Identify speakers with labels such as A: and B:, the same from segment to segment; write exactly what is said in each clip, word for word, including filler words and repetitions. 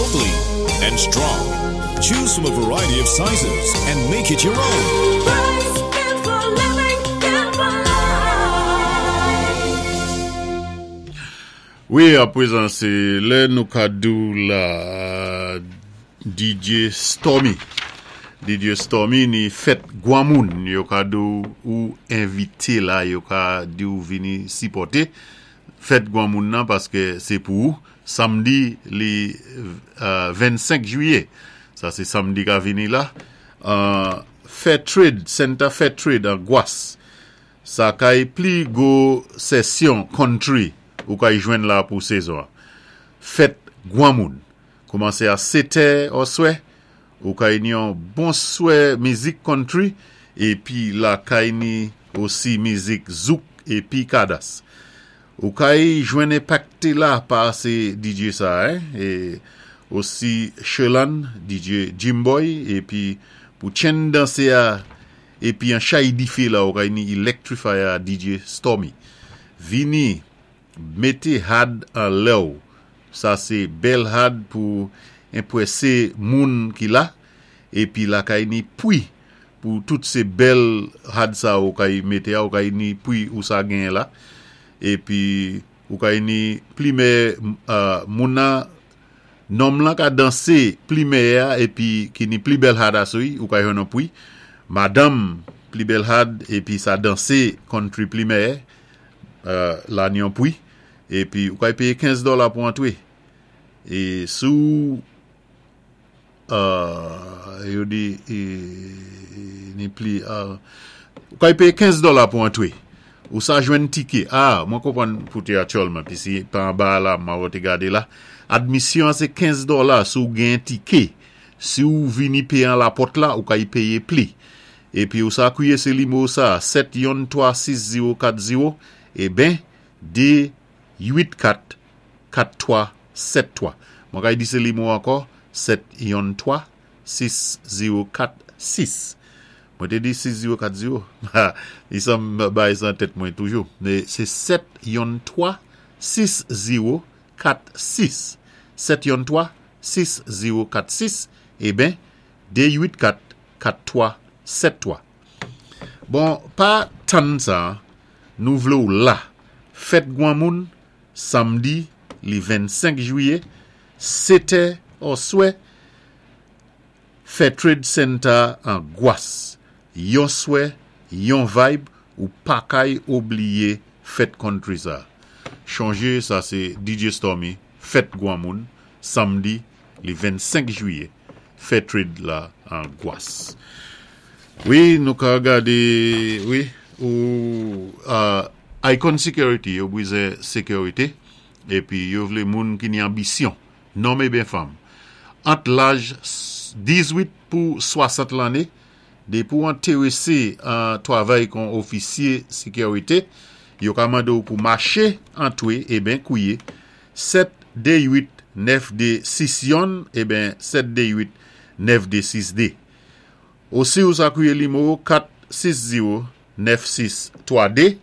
A: Lovely and strong. Choose from a variety of sizes and make it your own.
B: Rice, good for living, good for life.
C: Wi, apwézan sé lè nou ka di'w la D J Stormy. D J Stormy ni fèt gwanmoun, yo ka di'w ou envité la, yo ka di'w vini sipòté fèt gwanmoun nan paské sé pou ou, samdi li euh, vennsenk jwiyé. Sa sé samdi ka vini la. Euh, Fair Trade, Center Fair Trade an Gwas. Sa kay pli gwo sesyon country ou kay jwenn la pou sezon. Fèt gwanmoun. Koumansé a sèt è oswè, ou kay ni yon bon swè mizik country, épi la kay ni osi mizik zouk épi kadas. Ou kay jwenn enpakté la pa sé D J sa, hein? É osi Shelan, D J Jimboy, épi pou chen dansé a, épi an chay difé la, ou kay ni Electrify a D J Stormy. Vini, mété had an lè'w. Sa sé bèl had pou enpwésé moun ki la, épi la kay ni pwi pou tout sé bèl had sa ou kay mété a, ou kay ni pwi ou sa gen la, épi ou kay ni plimè uh, moun nan nonm lan ka dansé pli mèyè épi ki ni pli bèl had asou, ou kay jwenn yon pwi. Madanm pli bèl had épi sa dansé country pli mèyè, uh, la ni yon pwi, épi ou kay péyé kenz dola pou antwé. É sou uh, yo di é, ni pli uh, ou kay péyé kenz dola pou antwé. Ou sa jwenn tiké. Ah, mwen konpwann pou té aktyèlman, pi si pa anba la, mwen wè te gadé la. Admisyon sé kenz dola si ou gen tiké. Si ou vini péyé an la pòt la, ou kay péyé pli. Épi ou sa kwiyé sé limo sa, sèt yon twa sis zewo kat zewo, é ben, dé uit kat kat twa sèt twa. Mwen kay di sé limo ankò, sèt yon twa sis zewo kat sis. Mwen té di sis zewo kat zewo. Li sa m bay sa an tèt mwen toujou. Mé sé sèt yon twa sis zewo kat sis. sèt yon twa sis zewo kat sis, é ben, dé uit kat kat twa sèt twa. Bon, pa tann sa, nou vlé ou la. Fèt gwanmoun, samdi, li vennsenk jwiyé, sèt è oswè, Fair Trade Center an Gwas. Yon swè, yon vibe, ou pa kay oubliyé fèt country sa. Chonjé, sa sé D J Stormy, fèt gwanmoun, samdi, li vennsenk jwiyé, Fair Trade la an Gwas. Wi, nou ka gadé, wi, ou uh, Icon Security, yo bwizen sékirité, épi yo vlé moun ki ni anbisyon, nonm é ben fanm. Ant laj dizwit pou swasant lanné, dépi ou entéwésé an twavay kon ofisyé sékirité, yo ka mandé ou pou maché antwé, é ben kwiyé, sèt dé uit nèf dé sis yon, é ben sèt dé uit nèf dé sis dé. Osi ou sa kwiyé limo kat sis zewo nèf sis twa dé,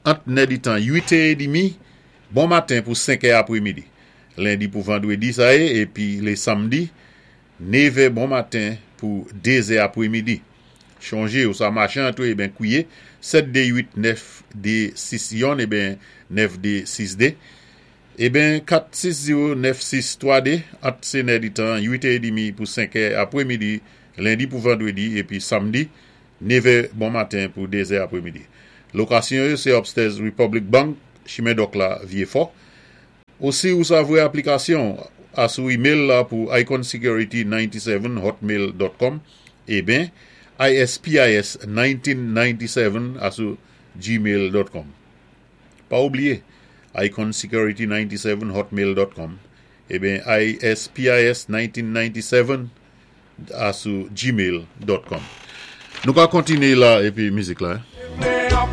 C: ant nè di tan uit è demi, bon maten pou senk è apwémidi. Lendi pou vandwédi sa yé, épi lé samdi, nèv è bon maten pou dé è apwémidi. Chonjé ou sa maché antwé, é ben kwiyé, sèt dé uit nèf dé sis yon, é ben nèf dé sis dé. É ben kat sis zewo nèf sis twa dé, ant sé nè di tan uit è demi pou senk è apwémidi, lendi pou vandwédi, épi samdi, nèv è bon maten pou dé è apwémidi. Lokasyon yo, sé upstairs Republic Bank, chimen Dòk la, Vyéfò. Osi ou sa voyé aplikasyon a sou email la pou iconsecurity ninety-seven hotmail dot com é ben ispis mil nèg san nonantysèt a sou gmail dot com. Pa oubliyé, iconsecurity ninety-seven hotmail dot com é ben ispis mil nèg san nonantysèt a sou gmail dot com. Nou ka kontiné la épi mizik la. Hein?